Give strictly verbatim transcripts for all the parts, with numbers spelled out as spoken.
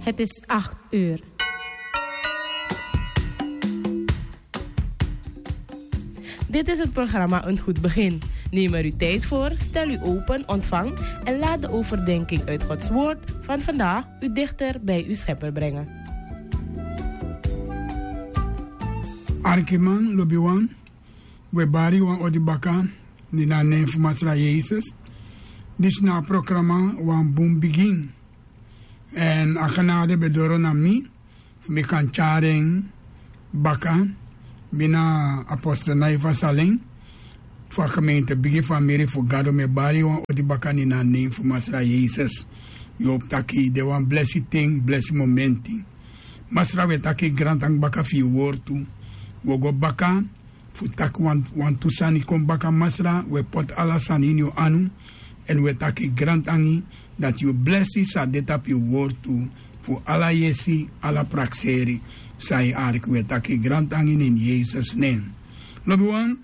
Het is acht uur. Dit is het programma Een Goed Begin. Neem er uw tijd voor, stel u open, ontvang en laat de overdenking uit Gods Woord van vandaag u dichter bij uw Schepper brengen. Arkiman, lobiwan, we bari wan odi baka, ni na nen fu Masra Yesus. Disi na a programa Wan Bun Bigin. Èn a genade ben doro na mi, fu mi kan tyari en baka. Mi na apostel Naiva Salen, fu a gemeente Bigi Famiri fu Gado. Mi e bari wan odi baka ni na a nen fu Masra Yesus. Mi hopu taki de wan blesi ten, blesi momenti. Masra, we taki grantangi baka fu yu wortu. We go baka fu taki wan, wantu sani kon baka, Masra, we poti ala sani ini yu anu. Èn we taki grantangi dati yu blesi san de tapu yu wortu fu ala yesi, ala prakseri. San yu arki, we taki grantangi ini Yesus nen. Lobiwan,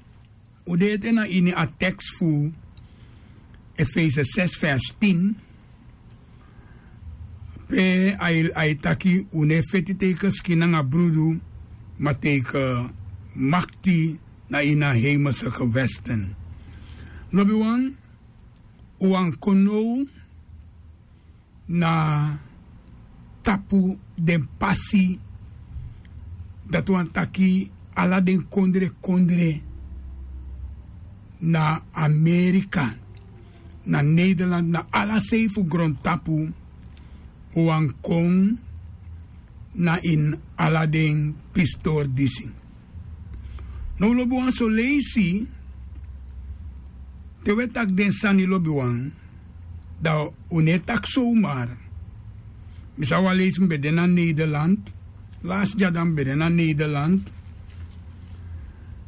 un de ete na ini a teks fu Efese zes vers tien. Pe a e, a e taki un no e feti tegen skin nanga brudu, ma tegen makti na ini a hemelse gewesten. Lobiwan, un wani kon now na tapu den pasi, dati wani taki ala den kondre kondre na Amerika, na Nederland, na ala sei fu grontapu, un wani kon na ini ala den pistori disi. Now lobiwan, son leisi te we taki den sani, lobiwan, dan un no e taki somar. Mi sabi wan leisi mi ben de na Nederland, lasi dya dan mi ben de na Nederland.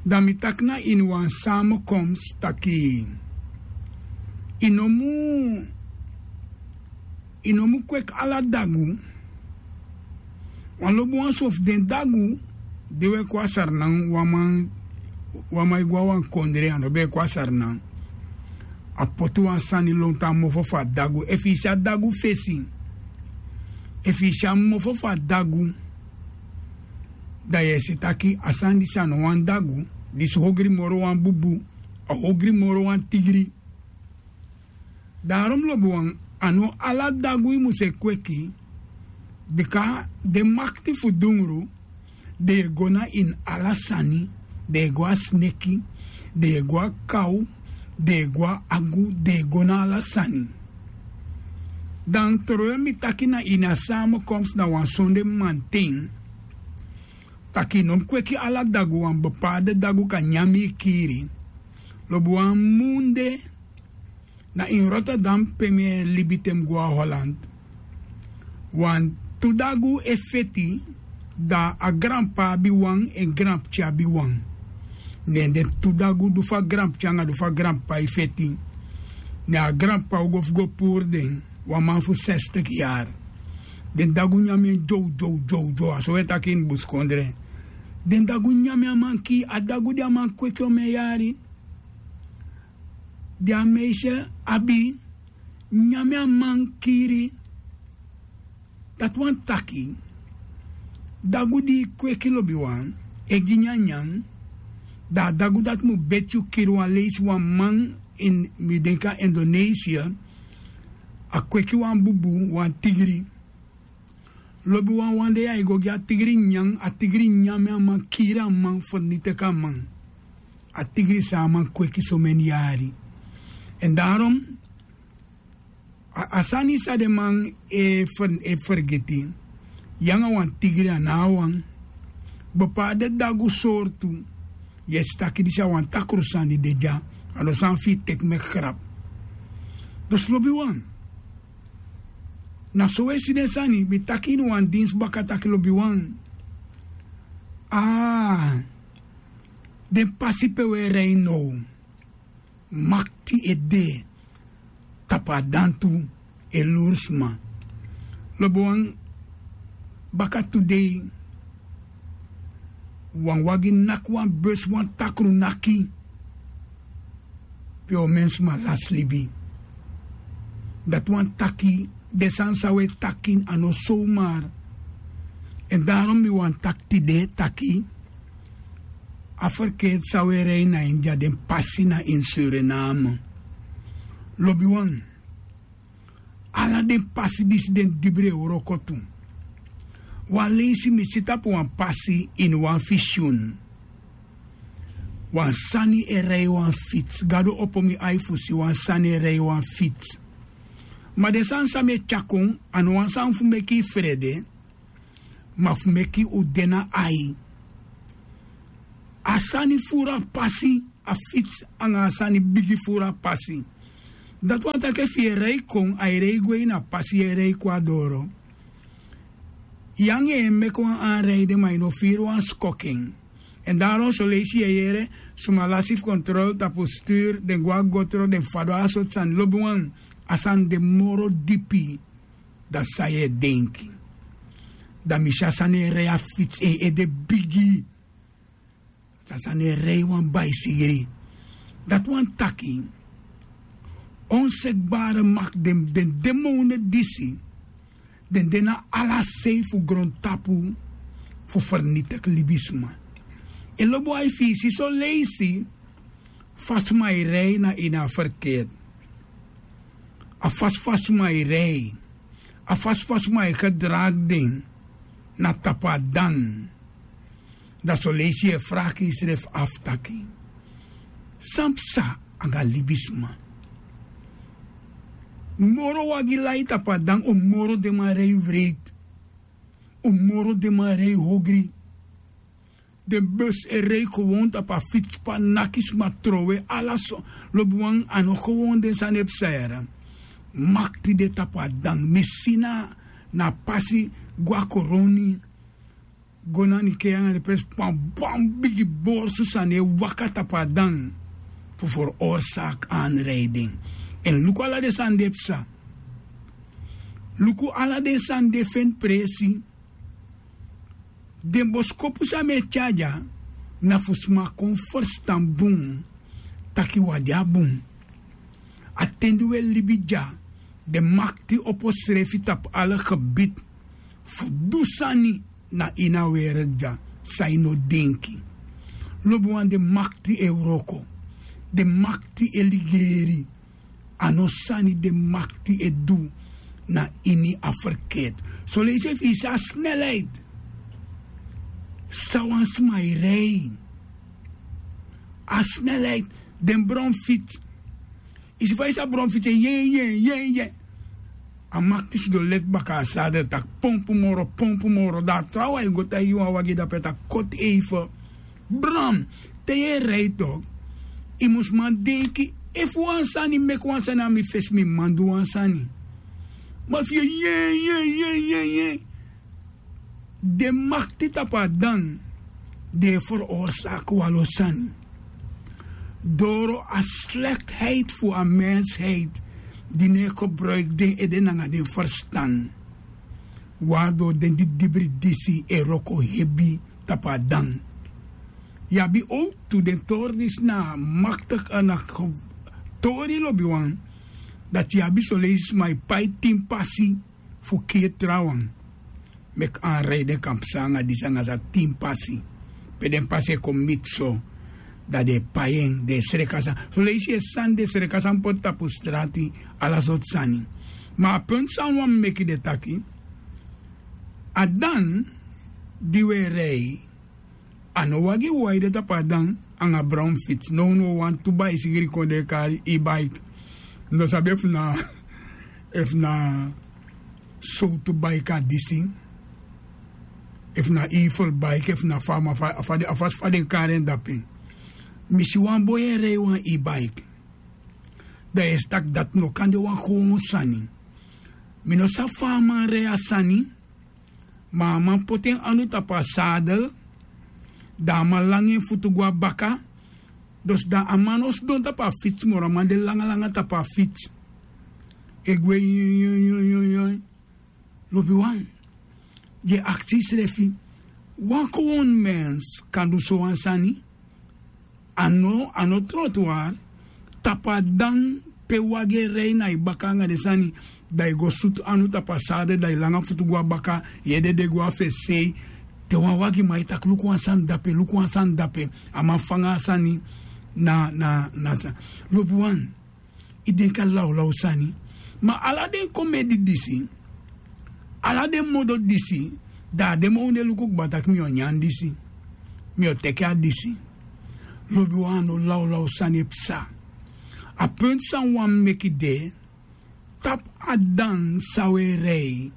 Dan mi taki na ini wan samenkomst taki yu no mu, yu no mu kweki ala dagu. Wan lobiwan, son fu den dagu di we kon na Sranan, wan man, wan man e go na wan kondre, a no ben e kon na Sranan, a poti wan sani lontu a mofo fu a dagu. Efu yu si a dagu fesi, efu yu si a mofo fu a dagu, dan yu e si taki a sani disi a no wan dagu. Disi hogri moro wan bubu, a hogri moro wan tigri. Daarom, lobiwan, a no ala dagu yu musu e kweki. Bika den makti fu dungru, den e go na ini ala sani. Den e go na sneki, den e go na kaw, den e go na agu, den e go na ala sani. Dan trowe mi taki na ini a samenkomst na wan sonde mamanten, taki yu no mu kweki ala dagu. Wan bepaalde dagu kan nyan yu, kiri. Lobiwan, munde na ini Rotterdam, pe mi e libi te mi go na Holland, wantu dagu e feti, dan a granpa abi wan, en granpikin abi wan. Ne den tu dagu, di fu a granpikin anga di fu a granpa, e feti. Ne a granpa o go fu go puru den, wan man fu sestig yari. Den dagu nyan en dyow, dyow, dyow, dyow. A so we taki ini busikondre. Den dagu nyan a man, kiri. A dagu di a man kweki omen yari, di a meisje abi, nyan a man, kiri. Dati wani taki dagu di yu kweki, lobiwan, e gi nyanyan, dan a dagu dati mu beti yu, kiri. Wan leisi wan man ini, mi denki a Indonesia, a kweki wan bubu, wan tigri. Lobiwan, wan dei a e go gi a tigri nyan, a tigri nyan a man, kiri a man, fernitiki a man. A tigri san a man kweki someni yari. Èn daarom, a, a sani san den man e fer-, e fergiti, yu anga wan tigri a no wan. Bepaalde dagu sortu, yu e si taki disi a wan takru sani di de dya. A no sani fu yu teki meki grap. Dus, lobiwan, na so we si den sani. Mi taki ini wan dinsi baka taki, lobiwan, a, den pasi pe we rei now, makti e de tapu a dantu e luru sma. Lobiwan, baka tu dei wan wagi naki wan besi, wan takru naki, pe omen sma lasi libi. Dati wani taki Den sani san un e taki a no sowmar. Èn daron mi wani taki tide taki a ferkeeti san un e rei na ini dya den pasi na ini suriname. Lobiwan, ala den pasi disi den dibri e wroko tu. Wan leisi mi si tapu wan pasi ini wan fisyun. Wan sani e rei wan fitsi gado opo mi ai fu si wan sani e rei wan fitsi. Ma den sani san mi e tyari kon a no wan sani fu meki yu frede, ma fu meki un de na ai. A sani furu a pasi, a fitsi anga a sani bigi furu a pasi. Dati wani taki efu yu e rei kon a e rei gwe ini a pasi yu e rei kon a doro. Yu anga en e meki wan anreide ma yu no firi wan skoki en. Èn daron soleisi yu e yere suma lasi fu kontrol tapu sturu den go a gotro den fadon a sortu sani lobiwan. A sani de moro dipi dan san yu e denki. Dan mi si a sani e rei a fitsi en ede bigi. San sani e rei wan baisigri. Dati wani taki onsekbare makti den den demone disi den de na ala sei fu grontapu fu fernitiki libisma. En lobi wan e fisi soleisi fa sma e rei na ini a ferkeet. A fasi fa sma e rei a fasi fa sma e gedragi den na tapu a dan. Dan soleisi yu e fraki yusrefi afu taki san psa anga libisma? Moro wagi lai tapu a dan un moro den man rei wreiti. Un moro den man rei hogri. Den besi e rei gewon tapu a fitsi pe a naki sma trowe ala so. Lobiwan a no gewon den sani e psa yara. Makti de tapu a dan mi si na a pasi go a koroni go na nikei anga den presi pe a wan bigi borsu sani e waka tapu a dan fu ferorsaaki anreiding. Èn luku ala den sani di e psa. Luku ala den sani di e feni presi. Den boskopu san mi e tyari dya na fu sma kon ferstan bun. Taki wi a de a bun. A ten di wi e libi dya den makti opo srefi tapu ala gebiti fu du sani na ini a werelti dya san yu no denki. Lobiwan den makti e wroko. Den makti e ligeri. A no sani den makti e du na ini a ferkeet. Soleisi efu yu si a snelheid san wan sma e rei a snelheid den bron fiti. Yu si fa yu si a bron fiti e yen yen yen yen. A makti sidon leti baka a sader taki pompu moro pompu moro dan a trawan e go taigi yu wan wagi dape taki koti eife. Bron te yu e rei tok yu mus man denki efu wan sani meki wan sani na mi fesi mi man du wan sani. Ma fu yu e yen yen yen yen yen den makti tapu a dan den e ferorsaaki wan lo sani. Doro a slektiheid fu a mensheid di no e gebruiki den ede nanga den ferstan. Wari doro den di dibri disi e wroko hebi tapu a dan. Yu abi owtu den tori disi na a maktiki ana tori lobiwan. Dati yu abi soleisi sma e pai tin pasi fu kiri trawan. Meki anrei den kan psa anga disi anga san tin pasi pe den pasi e kon miti so. Dan den e pai en den e sreka sani soleisi yu e sani den e sreka sani poti tapu strati. Ala sortu sani. Ma a puntu san wan meki den taki a dan di wi e rei a no wagi wai de tapu a dan anga brown fiti nownow wantu baisigri kon den e kari e baiki. Mi no sabi efu na efu na sowtu baiki a disi efu na evil baiki efu na fa ma fa a fasi fa den e kari en dape. Mi si wan boi e rei wan e baiki. Dan yu e si tak' dati no kan de wan gewon sani. Mi no sabi fa a man rei a sani. Ma a man poti en anu tapu a sadel. Dan a man langa en futu go na baka. Dus dan a man no sidon tapu a fitsi moro a man de langalanga tapu a fitsi. E gwe yun yun yun yun yun. Lobiwan yu e aksi yusrefi wan gewon mens kan du sowan sani? A no a no trotuar tapu a dan pe wagi e rei na yu baka anga den sani. Da yu go sutu anu tapu a sade, da yu langa futu go na baka, yu ede de go na fesei. Te wan wagiman e taki luku wan sani dape, luku wan sani dape. A man fanga a sani na na na sa. Lobiwan, yu denki a lawlaw sani. Ma ala den komedi disi, ala den modo disi, da a den man un de luku kba taki mi o nyan disi, mi o teke a disi. Lobiwan, a no lawlaw sani e psa. A puntu san wan meki de, tapu a dan san un e rei,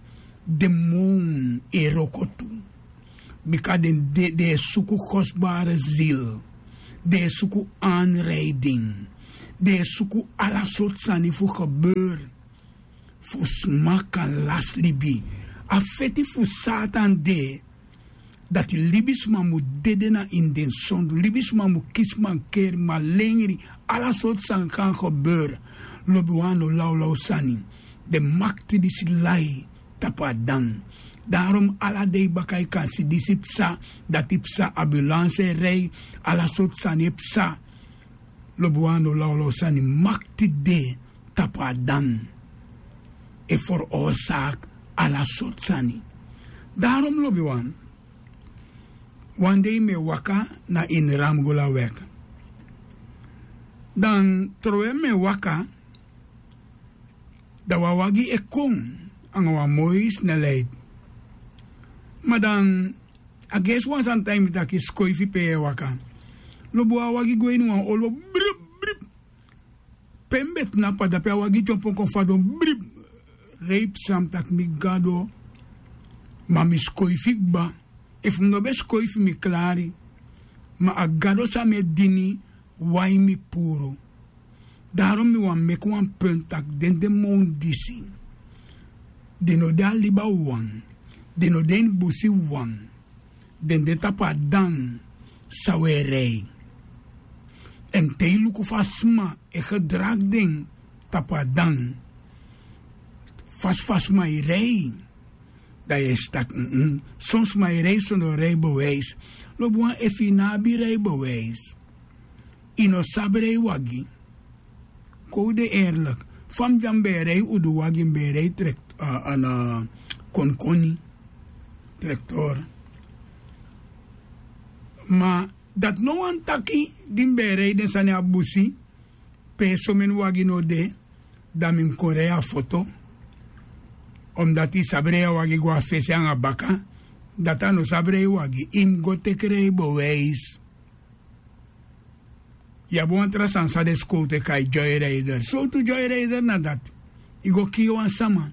demon e wroko tu. Bika den de den e suku kostbare zil, den e suku anreiding, den e suku ala sortu sani fu gebeur, fu sma kan lasi libi. A feti fu satan de, dati libisma mu dede na ini den sondu, libisma mu kisi mankeri, malengri, ala sortu sani kan gebeur. Lobiwan, a no lawlaw sani. Den makti disi lai tapu a dan. Darom ala dei baka yu kan si disi psa, dati psa, ambulansi e rei, ala sortu sani e psa. Lobiwan, a no lawlaw sani. Makti de tapu a dan e foroorsaak ala sortu sani. Darom lobiwan, wan dei mi e waka na ini Ramgulawek. Dan trowe mi e waka, da wan wagi e kon anga wan moi snelheid. Ma dan a gersi wan sani taigi mi taki skoifi pe yu e waka. Lobiwan, a wagi go ini wan olo, brip brip. Pe mi be tnapu a dape, a wagi dyompo kon fadon, brip. Rei psa, mi taki mi Gado. Ma mi skoifi kba. Efu mi no be skoifi mi klari. Ma a Gado san mi e dini, wai mi puru. Darom mi wani meki wan puntu taki den demon disi, den no de a liba wawan, den no de ini busi wawan. Den de tapu a dan san un e rei. Èn te yu luku fa sma e gedragi den tapu a dan, fasi fa sma e rei, da yu e si taki, son sma e rei sondro reibewijs. Lobiwan, efu yu no abi reibewijs, yu no sabi rei wagi. Kon un de eerlik. Fa mi dya mi be e rei udu wagi, mi be e rei trek- a- a na konkoni, trektor. Ma dati no wani taki di mi be e rei den sani a busi pe someni wagi no de, da mi mus kon rei a foto. Omdati yu sabi rei a wagi go a fesi anga baka, dati a no sabi rei wagi. Yu mus go teki reibewijs. Yu abi wan tra sani san den sikowtu e kai joyrider. Sowtu joyrider na dati? Yu go kii wan sama,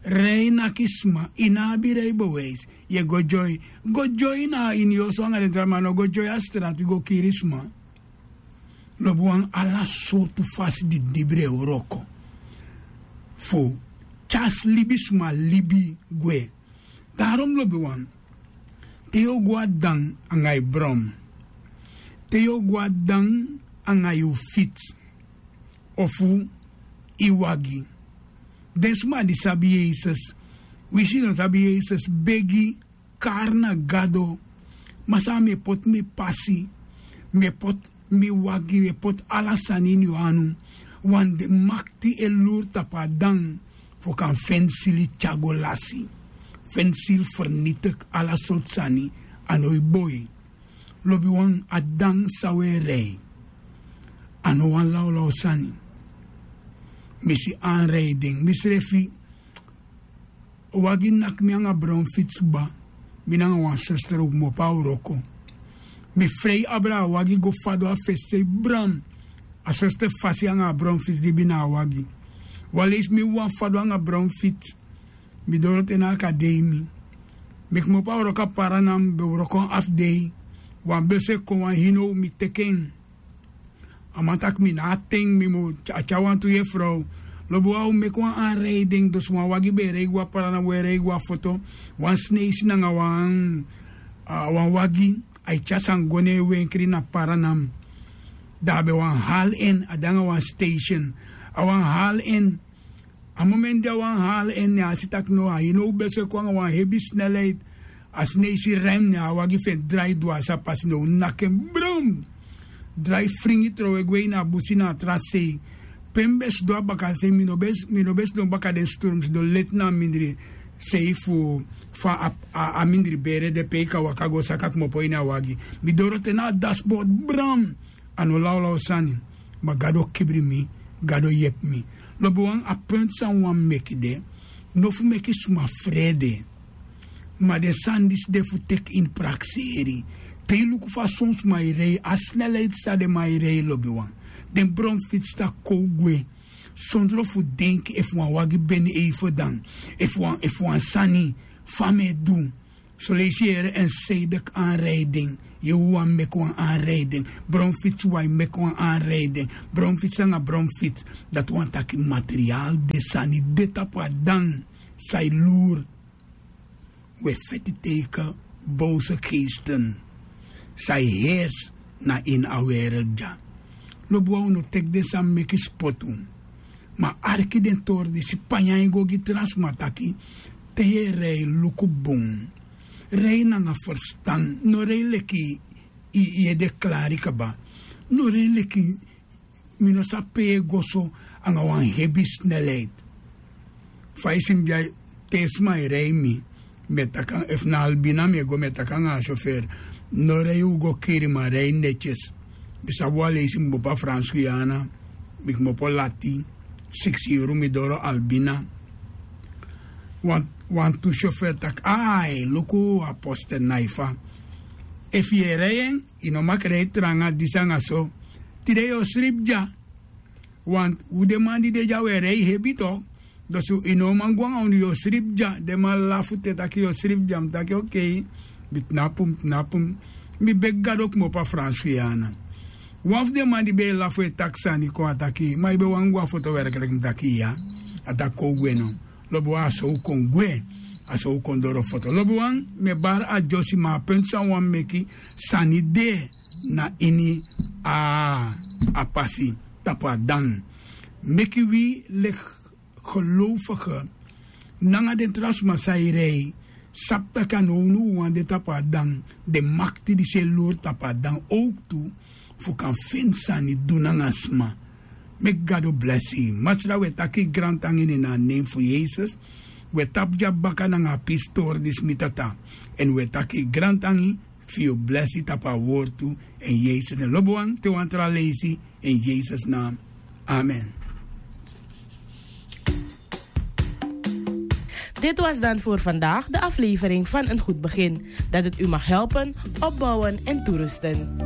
rei naki sma, yu no abi reibewijs, yu e go joy. Go joy na ini yu oso anga den tra man, no go joy a strati go kiri sma. Lobiwan, ala sortu fasi didibri e wroko fu tyari libisma libi gwe. Darom lobiwan, te yu o go a dan anga yu bron, te yu o go a dan anga yu fiti ofu yu wagi, den sma di sabi Yesus, winsi yu no sabi Yesus, begi, kari na Gado: Masra, mi e poti mi pasi, mi e poti mi wagi, mi e poti ala sani ini yu anu. Wan de makti e luru tapu a dan fu kan feni sili tyari go lasi, feni sili fernitiki ala sortu sani. A no e boi. Lobiwan, a dan san un e rei, a no wan lawlaw sani. Mi si anrijding, misrefi wagi naki mi anga bron fitsi kba. Mi nanga wan sester, un kmopo a wroko. Mi frei abra a wagi go fadon a fesi sei bron. A sester fasi anga a bron fitsi dibi na a wagi. Wan leisi mi wawan fadon anga bron fitsi. Mi doro te na akademi. Mi kmopo a wroko a Paranan, mi be wroko wan afu dei. Wan besi e kon, wan hinow, mi teki en. A man taki mi no abi ten, mi mu tyari wantu yefrow. Lobiwan, un meki wan anrijding, dus wan wagi be e rei go a Paranan, un e rei go a foto. Wan sneisi nanga wan, a, wan wagi, a e tyari sani go na en wenkri na Paranan. Dan a be wani hali en, a de nanga wan station. A wani hali en. A momenti di a wani hali en, ne a si taki no, a hinow besi e kon anga wan hebi snelheid. A sneisi rem, ne a wagi fu en drai dwasi a pasi, ne un naki en bron. Drai fringi trowe gwe ini a busi na a tra sei. Pe mi ben sidon a baka sei mi no ben sidon baka den sturm sidon leti na a mindri sei fu fa a mindri bere de pe yu kan waka go saka kmopo ini a wagi. Mi doro te na a dasbord bram. A no lawlaw sani. Ma gado kibri mi. Gado yepi mi. Lobiwan a puntu san wan meki de no fu meki suma frede. Ma den sani disi de fu teki ini prakseri. Te yu luku fa son sma e rei a snelheid san den man e rei lobiwan. Den bronfits sa kow gwe sondro fu denki efu wan wagi beni eife dan efu wan sani fa mi e du. Soleisi yu yere en seidek anrijding. Yu wan meki wan anrijding. Bronfits wan e meki wan anrijding. Bronfits nanga bronfits. Dati wan taki material de sani de tapu a dan. San e luru. We feti teike bowse keisten. San e hers na ini a werel dya. Lobi wan unu teki den san meki spotu. Ma arki den tori disi panyan e go gi tra sma taki te yu e rei luku bun. Rei nanga ferstan. No rei leki yu ede klari kaba. No rei leki mi no sabi pe yu e go so nanga wan hebi snelheid. Fa yu si mi dya te sma e rei mi. Mi e taki efu na albina mi e go mi e taki nanga a sofer. No rei un go kiri ma rei netyes. Mi sabi wan leisi mi kmopo a fransi guyana. Mi kmopo lati siksi yuru mi doro albina. Wantu sofer taki ai luku a poste naifa. Efu yu e rei en yu no maki rei tranga disi nanga so. Tide yu o sribi dya. Wantu un den man di de dya un e rei hebi to. Dus yu no man go nanga unu yu o sribi dya den man lafu te taki yu o sribi dya mi taki okei. Mi tnapu mi tnapu mi. Mi begi gado kmopo a fransi guyana. Wan fu den man di ben e lafu e taki sani kon a taki ma yu ben wani go a foto werklik mi taki iya. A taki kon un gwe no. Lobi wan a so un kon gwe. A so un kon doro foto lobi wan mi e bari a dyosi ma a puntu san un wani meki sani de na ini a pasi tapu a dan. Meki wi leki gelowfige nanga den tra sma san e rei sabi tak' a no unu wawan de tapu a dan. Den makti disi e lori tapu a dan owktu fu kan feni sani du nanga sma. Meki gado blesi yu masra wi e taki yu grantangi ini na a nen fu yesus. Wi e tapu dya baka nanga a pisi tori disi mi tata. Èn wi e taki yu grantangi fu yu blesi tapu a wortu. Èn yesus nen lobi wan te wan tra leisi. In yesus naam. Amen. Dit was dan voor vandaag de aflevering van een goed begin, dat het u mag helpen, opbouwen en toerusten.